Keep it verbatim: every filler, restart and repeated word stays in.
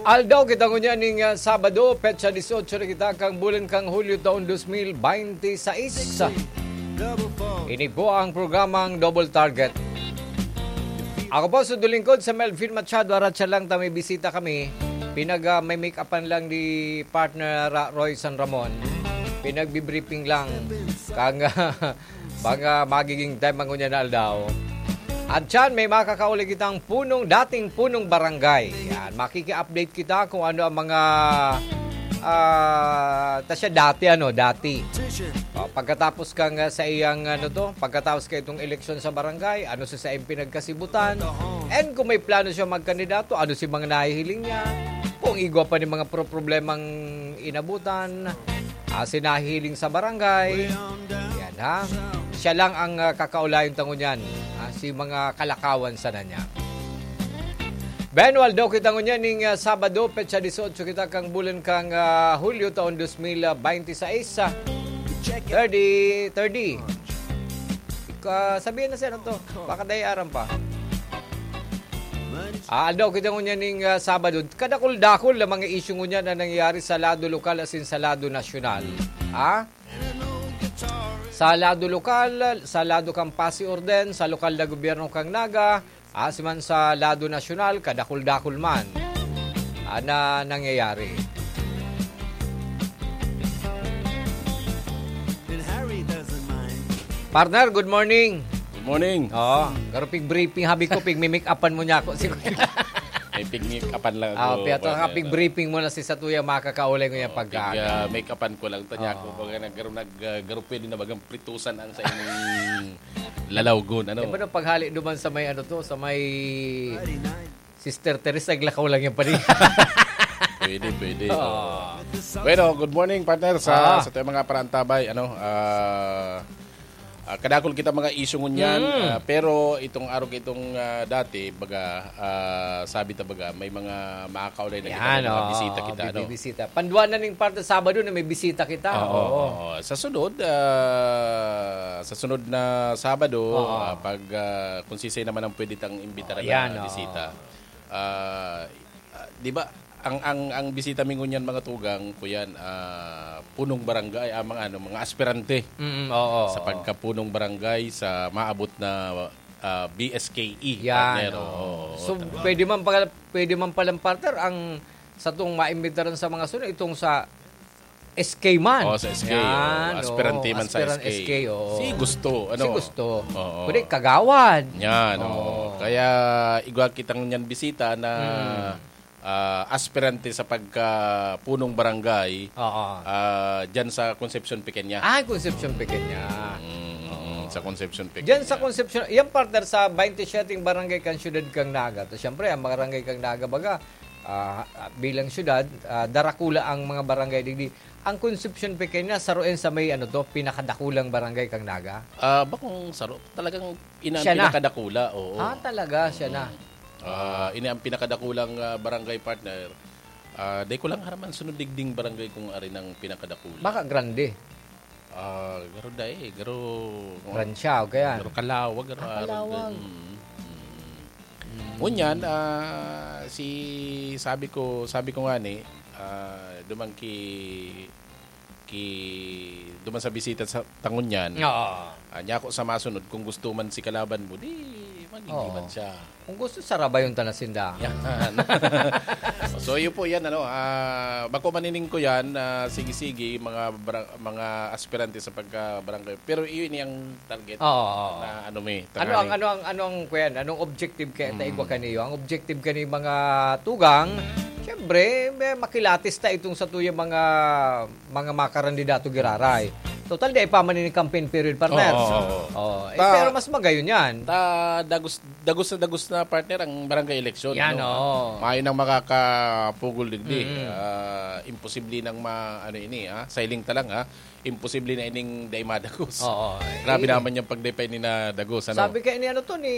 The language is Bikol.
Aldaw kita ngunyan ning, ah, Sabado, petsa dieciocho na kita kan bulan kan Hulyo taon dos mil bente seis. Ini po ang programang Double Target. Ako po, sa lingkod, sa Melvin Machado, aratsa lang ta may bisita kami. Pinag, ah, may make-upan lang ni partner, ah, Roy San Ramon. Pinagbibriefing lang. Kang, ah, mga magiging tema ngunyan na aldaw. At dyan, may makakauli kitang punong, dating punong barangay. Yan, makiki-update kita kung ano ang mga, ah, ta siya dati, ano, dati. O, pagkatapos kang, ah, sa iyang, ano to, pagkatapos ka itong eleksyon sa barangay, ano si sa iyang pinagkasibutan, and kung may plano siya magkandidato, ano si mga nahihiling niya, kung igwa pa ni mga pro-, problemang inabutan, ah, si nahihiling sa barangay. Yan, ha? Siya lang ang, ah, kakaulayon ta ngunyan, ah, si mga kalakawan sana niya. Ben, aldaw kita ngunyan ning, ah, Sabado, petsa dieciocho kita kang bulan kang, ah, Hulyo taon dos mil bente seis, ah, thirty, thirty. Ika-, sabihin na siya, ano to? Baka dai aram pa. Ah, aldaw kita ngunyan ning, ah, Sabado. Kadakul-dakul na mga isyu ngunyan na nangyayari sa lado lokal asin sa lado nasyonal. Ah? Sa lado lokal, sa lado kan Pasi Orden, sa lokal na gobyerno kan Naga, asin man sa lado nasyonal, kadakul-dakul man, ah, na nangyayari. Partner, good morning. Good morning. Oo, garo pig-briefing, habi ko, pig-make-upan mo niya ako. Siguro. May pig-make-upan lang ako, Ah, piyato ka, partner. Pig-briefing mo na si Satuya, makakaulay ko niya Oo, pagka- pig, ah, make-upan ko lang. Tanya ko, Oo. Baga na garo nag, ah, garo pwede na bagang pritusan ang sa inyong lalawgon, ano? Di ba nung paghali duman sa may ano to, sa may Sister Teresa, naglakaw lang yan pa rin. Pwede, pwede. Oo. Oo. Bueno, good morning, partner, sa, Ah. sa tuyang mga parantabay, ano, ah, ah, kadakul kita mga isyu ngunyan, Mm. ah, pero itong araw, itong, ah, dati, baga, ah, sabi ta baga, may mga makakaulay na kita, Yan, may mga oo, bisita kita, ano? bibisita. Pandua na ning parte Sabado na may bisita kita. Oo, Oo. oo. Sa sunod, ah, sa sunod na Sabado, Oo. ah, pag, ah, kung sisay naman ang pwede tang imbitaran Yan, na oo. bisita. Ah, ah, di ba, ang, ang, ang bisita mi ngunyan, mga tugang, kuyan, ah, punong barangay, ah, mga ano, mga aspirante Mm, oo, sa oo. pagkapunong barangay sa maabot na, ah, B S K E, Yan, partner, oo. oo. So, Ta- pwede man pala, pwede man palang, partner, ang satong maimbitaran sa mga sunod, itong sa S K man. Oh, sa S K, Yan, oh. Aspirante oo. man sa Aspirant S K. S K, oo. Si gusto, ano? Si gusto. Oo. Kundi kagawad. Yan, oo. Oo. Kaya igwa kitang ngunyan bisita na, Mm. ah, aspirante sa pagkapunong barangay, Oo. ah, dyan sa Concepcion Pequeña. Ah, Concepcion Pequeña. Mm, mm, Oo. sa Concepcion Pequeña. Dyan sa Concepcion, yan, partner, sa twenty-seven barangay kan siyudad kan Naga. To, siyempre, ang barangay kan Naga, baga, ah, bilang siyudad, ah, darakula ang mga barangay digdi. Ang Concepcion Pequeña, saro yan sa may, ano to, pinakadakulang barangay kan Naga? Ah, bakong saro, talagang ina ang Siya na. pinakadakula, oo. Ah, talaga, siya na. Mm. Ah, ini ang pinakadakulang, ah, barangay, partner. Ah, dai ko lang aram an sunod digding barangay kung ari nang pinakadakula. Baka grande. Ah, garo dai, garo Gran siya, o kaya? Garo Calawag, garo Ah, arog Calawag. din. Mm, mm. Mm. Ngunyan, ah, si, sabi ko, sabi ko nga ni, ah, duman ki, ki, duman sa bisita sa ta ngunyan. Oo. Ah, niya ako sa masunod, kung gusto man si kalaban mo, di magiging Oo. man siya. Kung gusto, sarabayon ta na sinda. Yan. So, yun po yan, ano, ah, bako manining ko yan, ah, sige-sige, mga bara-, mga aspirante sa pagka-barangay. Pero yun yung target Oo, oo. na ano, may Ano ang, tangani. ano ang, ano ang, kuyan? Anong objective kaya ta Mm. igwa kaniyo? Ang objective kani mga tugang, siyempre, may makilatis ta itong sa tuyang mga, mga makarandidato giraray. Total, di pa man ini campaign period, partner. Oo, oo, oo. Oo, eh, Ta- pero mas magayon yan. Ta, dagos, dagos na dagos na, partner, ang barangay election, Yan, ano? oo. Mayo nang makakapugol digdi. Mm. Ah, imposible nang ma-, ano ini, ah, siling ta lang, ah. Imposible na ining dai madagos. Oo, Grabe eh. naman yung pag dai pa ini nadagos, ano? Sabi kaya ni ano to, ni